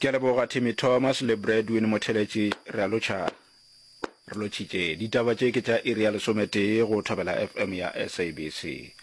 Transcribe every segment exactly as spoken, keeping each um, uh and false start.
Ke a leboga Timmy Thomas le Bradwin Motheletši. Re a lotšha. Re lotšhitše. Ditaba tše ke tša iri ya lesometee go Thobela FM ya SABC.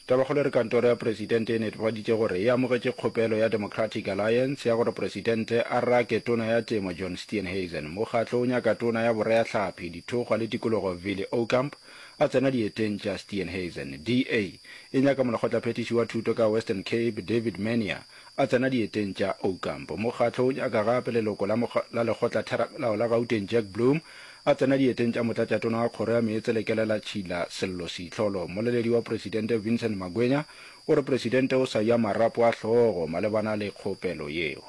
Tabakgolo e re kantoro ya Presidente e netefaditše gore e amogetše kgopelo ya Democratic Alliance ya gore Presidente a rake Tona ya Temo John Steenhuisen. Mokgatlo o nyaka Tona ya Boreahlapi, Dithokgwa le Tikologo Vili Aucamp a tsena dieteng tša Steenhuisen. DA e nyaka Molekgotlaphethiši wa Thuto ka Western Cape David Mania a tsena dieteng tša Aucamp. Mokgatlo o nyaka gape leloko la la Lekgotlatheramelao la Gauteng Jack Bloom a tsena dieteng tša Motlatšatona wa Kgoro ya Meetse le Kelelatšhila Sello Seitlholo. Mmoleledi wa Presidente Vincent Magwenya o re Presidente o sa ja marapo a hlogo malebana le kgopelo yeo.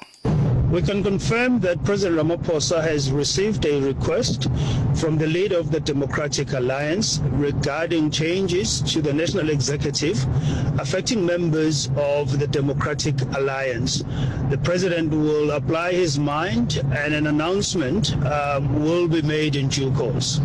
We can confirm that President Ramaphosa has received a request from the leader of the Democratic Alliance regarding changes to the national executive affecting members of the Democratic Alliance. The president will apply his mind and an announcement um, will be made in due course.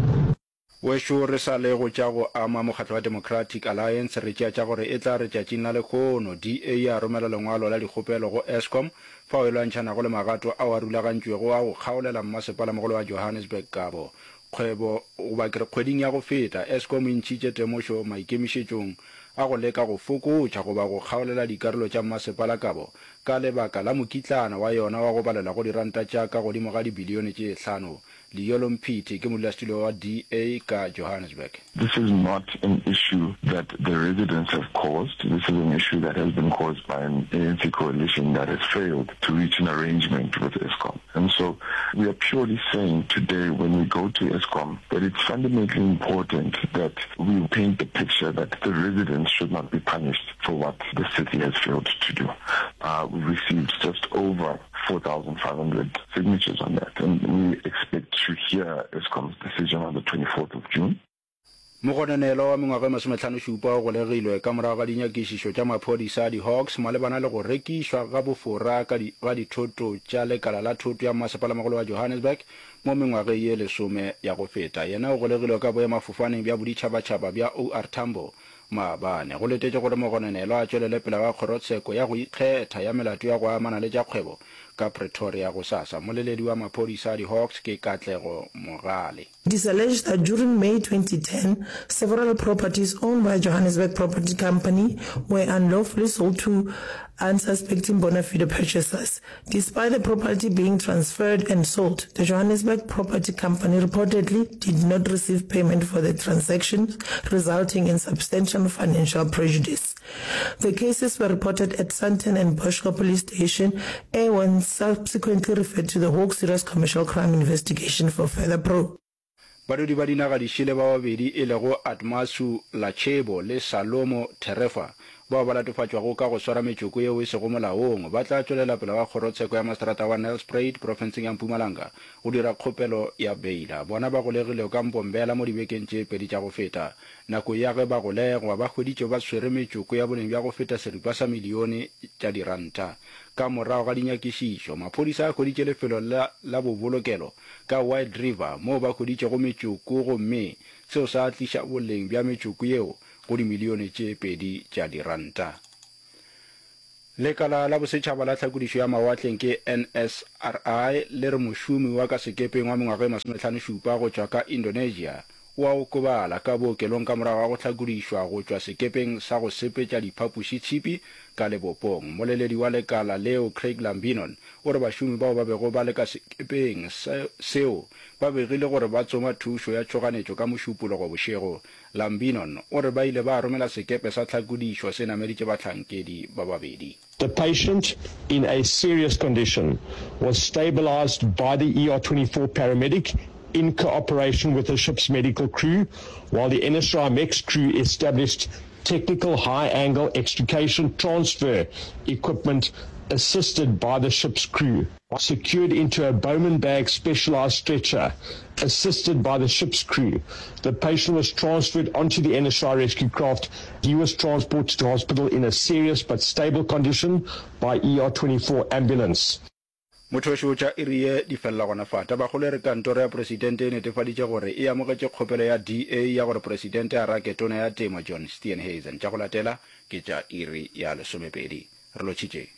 Wešo re sa le go tša go ama mokgatlo wa Democratic Alliance, re tšea tša gore e tla re tšatšing la lehono DA ya romela lengwalo la dikgopelo go Eskom fao e lwantšhanago le magato ao a rulagantšwego a go kgaolela mmasepalamogolo wa Johannesburg kabo kgwebo goba ke re kgweding ya go feta Eskom e ntšhitše temošo maikemišetšong a go leka go fokotša goba go kgaolela dikarolo tša mmasepala kabo ka lebaka la mokitlana wa yona wa go balelwa go diranta tša ka godimo ga dibilione tše hlano Liyolo Mphithi ke modulasetulo wa DA ka Johannesburg. This is not an issue that the residents have caused, this is an issue that has been caused by an ANC coalition that has failed to reach an arrangement with Eskom. And so we are purely saying today when we go to Eskom that it's fundamentally important that we paint the picture that the residents should not be punished for what the city has failed to do. Uh, we received just over four thousand five hundred signatures on that and we expect to hear Eskom's decision on the twenty-fourth of June. Mogononelwa wa mengwaga e masomehlano-šupa o golegilwe ka morago ga dinyakišišo tša maphodisa a di-Hawks malebana le go rekišwa ga bofora ka ga dithoto tša lekala la thoto ya mmasepalamogolo wa Johannesburg mo mengwageng ye lesome ya go feta. Yena o golegilwe ka boemafofaneng bja boditšhabatšhaba bja OR Tambo Maabane, go letetšwe gore mogononelwa a tšwelele pele ga kgorotsheko ya go ikgetha ya melato ya go amana le tša kgwebo ka Pretoria gosasa. Mmoleledi wa maphodisa a di-Hawks ke Katlego Mogale. It is alleged that during May twenty ten, several properties owned by Johannesburg Property Company were unlawfully sold to unsuspecting bona fide purchasers. Despite the property being transferred and sold, the Johannesburg Property Company reportedly did not receive payment for the transactions, resulting in substantial financial prejudice. The cases were reported at Sandton and Boschkop Police Station and were subsequently referred to the Hawks Serious Commercial Crime Investigation for further probe. Badudi ba dinaga dišele ba babedi e lego Admasu Lachebo le Salomo Therefa bao ba latofatšwago ka go swara metšoko yeo e sego molaong ba tla tšwelela pele ga kgorotsheko ya maseterata wa Nelspruit profenseng ya Mpumalanga go dira kgopelo ya beila. Bona ba golegilwe ka Mbombela mo dibekeng tše pedi tša go feta. Nako ya ge ba golegwa ba hweditšwe ba swere metšoko ya boleng bja go feta seripa sa milione tša diranta. Ka morago ga dinyakišišo, maphodisa a hweditše lefelo la la bobolokelo ka White River moo ba hweditšego metšoko gomme seo sa tliša boleng bja metšoko yeo go dimilione tše pedi tša diranta. Lekala la bosetšhaba la tlhakodišo ya mawatleng ke N S R I le re mošomi wa ka sekepeng wa mengwaga e masomehlano-šupa go tšwa ka Indonesia o a okobala ka bookelong ka morago ga go hlakodišwa go tšwa sekepeng sa go sepetša diphapoši-tšhipi ka lebopong. Mmoleledi wa lekala leo Craig Lambinon o re bašomi bao ba bego ba le ka sekepeng seo ba begile gore ba tsoma thušo ya tšhoganetšo ka Mošupologo bošego. Lambinon o re ba ile ba romela sekepe sa tlhakodišo se nameditše bahlankedi ba babedi. The patient, in a serious condition, was stabilized by the E R twenty-four paramedic in cooperation with the ship's medical crew, while the N S R I MEX crew established technical high-angle extrication transfer equipment assisted by the ship's crew. Secured into a Bowman bag specialized stretcher, assisted by the ship's crew. The patient was transferred onto the N S R I rescue craft. He was transported to hospital in a serious but stable condition by E R twenty-four ambulance. Mothoši o tša iri ye di felela gona fa. Tabakgolo e re kantoro ya Presidente e netefaditše gore e amogetše kgopelo ya D A ya gore Presidente a rake Tona ya Temo John Steenhuisen. Tša go latela ke tša iri ya lesomepedi. Re lotšhitše.